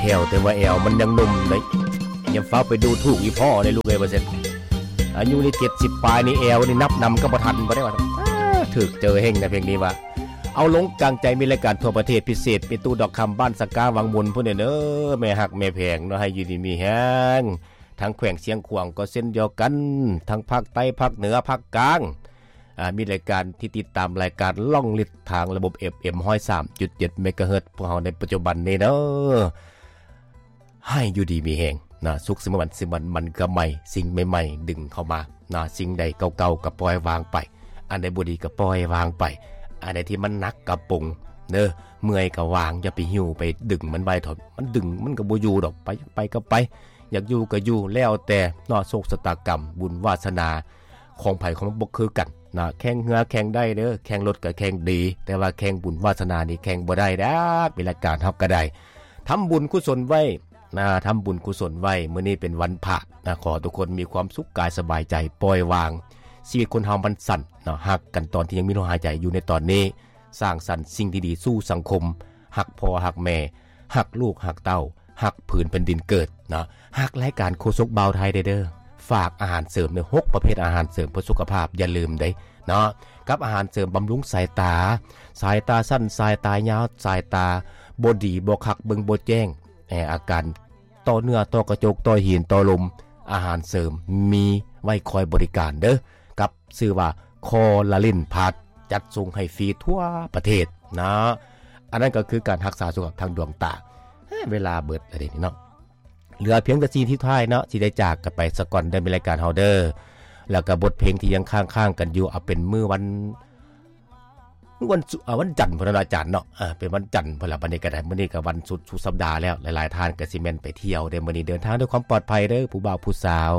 ແຖວ ແຕ່ວ່າແອວມັນຍັງໜຸ່ມເດ້. ຢ່າຟ້າວໄປດູຖູກອີ່ພໍ່ເດ້ລູກເອີຍ ວ່າຊັ້ນ. ອາຍຸນີ້ເຈັດສິບປາຍນີ້ ແອວນີ້ນັບນຳກໍບໍ່ທັນບໍ່ໄດ້ວ່າ. ຖືກເຈີເຮັງນະເພງນີ້ວ່າ. ເອົາ ລົງກາງໃຈ ມີລາຍການທົ່ວປະເທດ ພິເສດເມຕູ້ດອກຄຳ ບ້ານສະກາ ວັງມຸນພຸ້ນເດີ. ແມ່ຮັກແມ່ແພງເນາະ ໃຫ້ຢູ່ດີມີແຮງ. ທາງແຂວງຊຽງຂວາງກໍເຊັ່ນດຽວກັນ, ທັງພາກໃຕ້, ພາກເໜືອ, ພາກກາງ. ອາ ມີລາຍການທີ່ຕິດຕາມລາຍການລ່ອງລິດທາງລະບົບ ເອັຟເອັມ ຮ້ອຍສາມຈຸດເຈັດ ເມກາເຮີດ ພວກເຮົາໃນປັດຈຸບັນນີ້ເດີ. ໃຫ້ຢູ່ດີມີແຮງນະ, ສຸກສະເໝີວັນ ຊິມັນ ມັນກະໃໝ່, ສິ່ງໃໝ່ໆດຶງເຂົ້າມານະ, ສິ່ງໃດເກົ່າໆກໍປ່ອຍວາງໄປ, ອັນໃດບໍ່ດີກໍປ່ອຍວາງໄປ, ອັນໃດທີ່ມັນໜັກກະປົງເດີ, ເມື່ອຍກໍວາງ, ຢ່າໄປຫິ້ວໄປດຶງມັນໄວ້ເຖາະ, ມັນດຶງມັນກໍບໍ່ຢູ່ດອກ, ໄປ ໄປກໍໄປ, ຢາກຢູ່ກໍຢູ່ ແລ້ວແຕ່ເນາະ, ໂຊກຊະຕາກຳ ບຸນວາສະໜາ ຂອງໃຜຂອງມັນບໍ່ຄືກັນນະ. ແຂ່ງເຮືອແຂ່ງໄດ້ເດີ, ແຂ່ງລົດກໍແຂ່ງດີ, ແຕ່ວ່າແຂ່ງບຸນວາສະໜານີ້ແຂ່ງບໍ່ໄດ້ດອກ. ເວລາການເຮົາກໍໄດ້ທຳບຸນກຸສົນໄວ້ນະ, ທຳບຸນກຸສົນໄວ້. ມື້ນີ້ເປັນວັນພະນະ, ຂໍໃຫ້ທຸກຄົນມີຄວາມສຸກກາຍສະບາຍໃຈ, ປ່ອຍວາງ. ຊີວິດຄົນເຮົາມັນສັ້ນເນາະ, ຮັກກັນຕອນທີ່ຍັງມີລົມຫາຍໃຈຢູ່ໃນຕອນນີ້, ສ້າງສັນສິ່ງທີ່ດີສູ່ສັງຄົມ, ຮັກພໍ່ຮັກແມ່, ຮັກລູກຮັກເຕົ້າ, ຮັກພື້ນແຜ່ນດິນເກີດເນາະ. ຮັກລາຍການໂຄສົກບ່າວໄທແດ່ເດີ. ຝາກອາຫານເສີມເດີ, ຫົກປະເພດອາຫານເສີມເພື່ອສຸຂະພາບ, ຢ່າລືມເດ້ເນາະ, ກັບອາຫານເສີມບຳລຸງສາຍຕາ, ສາຍຕາສັ້ນ, ສາຍຕາຍາວ, ສາຍຕາບໍ່ດີ, ບໍ່ຄັກ, ເບິ່ງບໍ່ແຈ້ງ, ແອ, ອາການ ຕໍ່ເນື້ອ, ຕໍ່ກະຈົກ, ຕໍ່ຫີນ, ຕໍ່ລົມ, ອາຫານເສີມມີໄວ້ຄອຍບໍລິການເດີ, ກັບຊື່ວ່າ ຄໍລາລິນພລັສ, ຈັດສົ່ງໃຫ້ຟຣີທົ່ວປະເທດນະ. ອັນນັ້ນກໍຄືການຮັກສາສຸຂະພາບທາງດວງຕາ. ເອີ ເວລາເບິດແລ້ວເດນີ້ເນາະ, ເຫຼືອພຽງແຕ່ສິ່ງສຸດທ້າຍເນາະ, ຊິໄດ້ຈາກກັນໄປສາກ່ອນເດີ, ມີລາຍການເຮົາເດີ, ແລ້ວກໍບົດເພງທີ່ຍັງຄ້າງໆກັນຢູ່, ເອົາເປັນມື້ວັນ ວັນສຸ ອາ ວັນຈັນພຸ້ນນະອາຈານເນາະ, ອາ ເປັນວັນຈັນພຸ້ນລະ. ບັດນີ້ກໍໄດ້ ມື້ນີ້ກໍວັນສຸດ ສຸດສັບດາແລ້ວ, ຫຼາຍໆທ່ານກໍຊິແມ່ນໄປທ່ຽວເດ້. ມື້ນີ້ເດີນທາງດ້ວຍຄວາມປອດໄພເດີ, ຜູ້ບ່າວຜູ້ສາວ,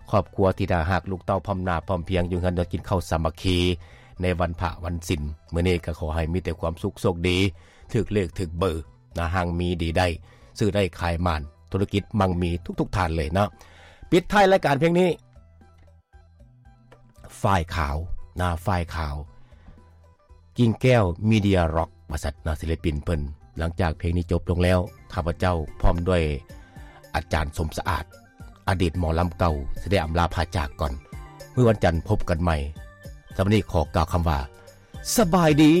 ຄອບຄົວທີ່ໜ້າຮັກ, ລູກເຕົ້າພ້ອມໜ້າພ້ອມພຽງ, ຢູ່ເຮືອນນອນກິນເຂົ້າສາມັກຄີໃນວັນພະວັນສິນ. ມື້ນີ້ກໍຂໍໃຫ້ມີແຕ່ຄວາມສຸກໂຊກດີ, ຖືກເລກຖືກເບີນະ, ຮັ່ງມີດີໄດ້, ຊື້ໄດ້ຂາຍໝານ, ທຸລະກິດມັ່ງມີທຸກໆທ່ານເລີຍເນາະ. ປິດທ້າຍລາຍການພຽງນີ້ ຝ້າຍຂາວນະ, ຝ້າຍຂາວ ກິ່ງແກ້ວ ມີເດຍ ຣັອກ ວ່າຊັ້ນນະ, ສິລະປິນເພິ່ນ. ຫຼັງຈາກເພງນີ້ຈົບລົງແລ້ວ, ຂ້າພະເຈົ້າພ້ອມດ້ວຍອາຈານສົມສະອາດ, ອະດີດໝໍລຳເກົ່າ, ຊິໄດ້ອຳລາພາຈາກກ່ອນ. ມື້ວັນຈັນພົບກັນໃໝ່. ສຳລັບມື້ນີ້ຂໍກ່າວຄຳວ່າ ສະບາຍດີ.